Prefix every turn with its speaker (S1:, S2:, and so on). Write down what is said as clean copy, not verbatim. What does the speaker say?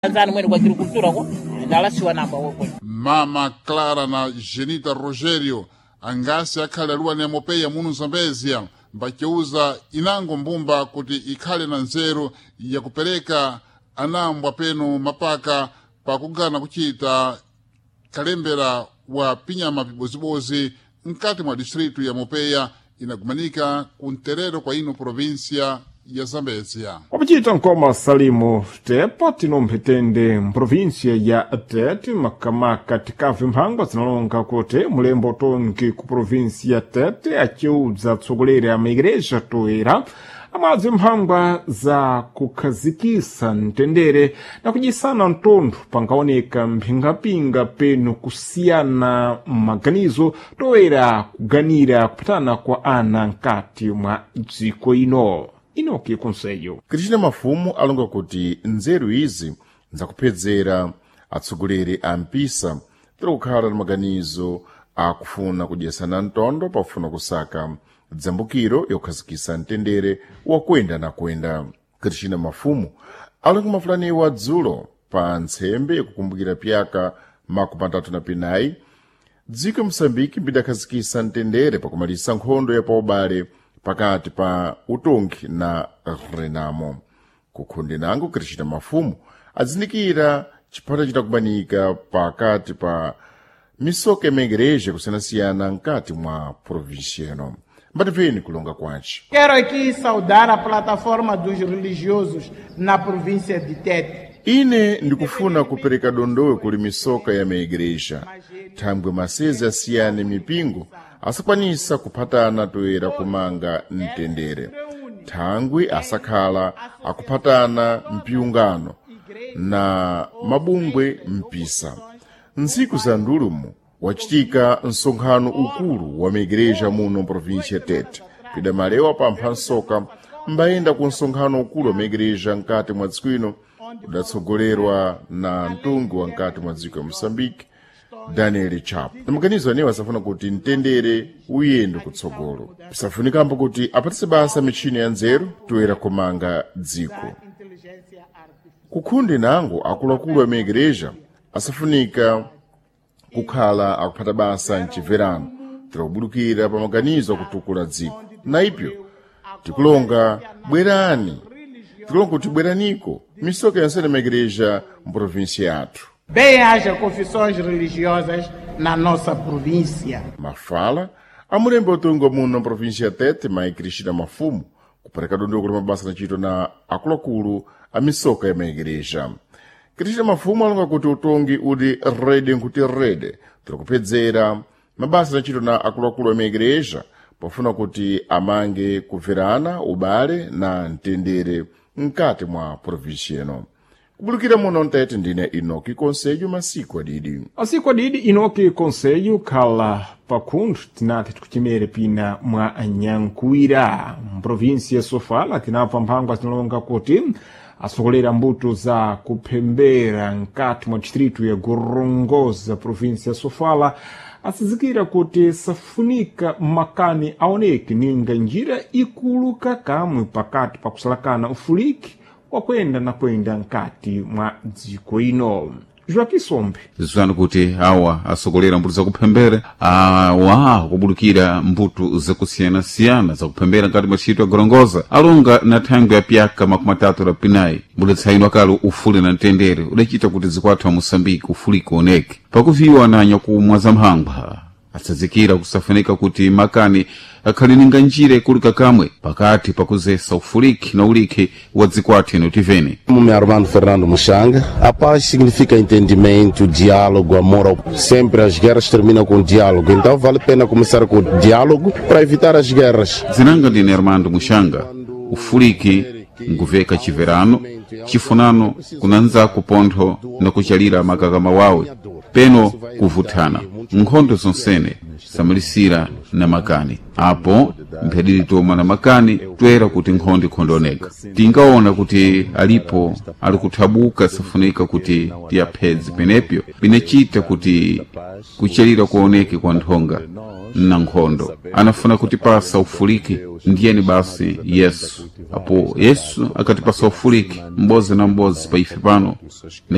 S1: Anzani mwene kwa agricultura ko ndalasiwa namba woko.
S2: Mama Clara na Genita Rogério angasi akhale aluwa na mopeya munu Zambezia mbaceuza inango mbumba kuti ikhale na nzeru yakupereka anambwa penu mapaka pakugana kuchita kalembera wa pinyama pibozibozi mkati mwa distritu ya Mopeya inagumanika kunterero kwa ino provinsia ya Zambezia.
S3: Wapachita nkoma Salimu Tepa tinomphitende mprovinsia ya Tete makamaka tikabve mphangwa zinalonga kuti mulembo tongi ku provinsia ya Tete aciudza atsogoleri a maigreja toera amwadzi mphangwa za kukhazikisa mtendere na kudyisana mtontho pangaoneka mphingapinga penu kusiyana maganizo toera kuganira kupatana kwa ana mkati mwa dziko ino. Inoki Conselho.
S4: Cristina Mafumu alonga kuti nzeru izi nzakuphedzera atsogoleri a mpisa tiri kukhala na maganizo akufuna kudyesana mtondo pafuna kusaka dzambukiro yokhazikisa mtendere wakwenda na kwenda. Cristina Mafumu alonga mafulaniwa dzulo pa ntsembe yakukumbukira pyaka 34 dziko Mosambiki mbidakhazikisa mtendere pakumalisa nkhondo ya paubale pakati pa utongi na Renamo. Kukhonde nango Cristina Mafumu adzindikira chiphata chitakubanika pakati pa misoka ya maigreja kusiyanasiyana mkati mwa província ino. Mbatipeni kulonga kwace.
S5: Quero aqui saudar a plataforma dos religiosos na província de Tete.
S4: Ine ndikufuna kupereka dondowe kuli misoka ya maigreja thangwe masezi asiyane mipingo asakwanisa kuphatana toera kumanga mtendere thangwi asakhala akuphatana mpiyungano na mabungwe mpisa. Ntsiku za ndulumu wachitika msonkhano ukulu wa maigreja muno mprovinsia ya Tete pidamalewa pampha nsoka mbayenda ku msonkhano ukulu wa maigreja mkati mwa dziko ino udatsogolerwa na mtungi wa mkati mwa dziko ya Moçambique Daniel Chapo. Na maganizo anewo asafuna kuti mtendere uyende kutsogolo. Pisafunikambo kuti apatise basa michini ya nzeru toera kumanga dziko. Kukhundi nango akuluakulu a maigreja asafunika kukhala akuphata basa mchimverano tirakubudukira pa maganizo akutukula dziko. Na ipyo tikulonga bwerani tikulonga kuti bweraniko misoka yonsene maigreja mprovinsia yathu.
S5: Bem haja confissões religiosas na nossa província.
S4: Mafala amulembe utungo muno mprovinsia ya Tete mai Cristina Mafumu kupereka dondoko la mabasa nachito na akuluakulu a misoka ya maigreja. Cristina Mafumu alonga kuti utongi uli rede nkuti rede tiri mabasa nachito na akuluakulu a maigreja pofuna kuti amange kubverana ubale na mtendere mkati mwa provinsia ino. Kubulukira muno mtete ndine Inoki Conselho masiku adidi.
S3: Asiku adidi Inoki Conselho khala pakhundu tinati tikuchimere pina mwa Nyankuira mprovinsia ya Sofala tinapfa mphangwa zinalonga kuti asokolera mbuto za kuphembera mkati mwa distritu ya Gorongosa provinsia ya Sofala asizikira kuti safunika makani aoneke ninga njira ikuluka kamwe pakati pa kusalakana ufuliki wakwenda na kwenda mkati mwa dziko ino. Joaquim Sombe.
S6: Zizwani kuti awa asokolera mbuto zakuphembera awa akubulukira mbuto zakusiyanasiyana zakuphembera nkati mwa ntchito ya Gorongosa alonga na thangwi ya pyaka 38 mbudetsaino akale ufuli na mtendere udachita kuti zikwathu a Moçambique ufuliki oneke pakuviwa na nyakumwa za mphangwa atsazikira kusafunika kuti makani akhale ninga njira ikulika kamwe pakati pakuzesa ufuliki na ulikhi wa dzikwathu ino tivene.
S7: Meu nome é Armando Fernando Muxanga. A paz significa entendimento, diálogo, amor. Sempre as guerras terminam com diálogo. Então vale a pena começar com o diálogo para evitar as guerras.
S6: Zinanga ndine Armando Muxanga. Ufuliki nkuveka chiverano chifunano kunanzaku pontho na kuchalira makakama wawe peno kuvuthana nkhondo zonsene samalisira na makani apo mphadiri toma na makani toera kuti nkhondo ikhondooneka tingaona kuti alipo ali kuthabuka safunika kuti tiyaphedze penepyo pinachita kuti kuchalira kuoneke kwa nthonga na nkhondo anafuna kutipasa ufuliki ndiyeni basi Yesu apo Yesu akatipasa ufuliki m'bozi na m'bozi pa ife pano.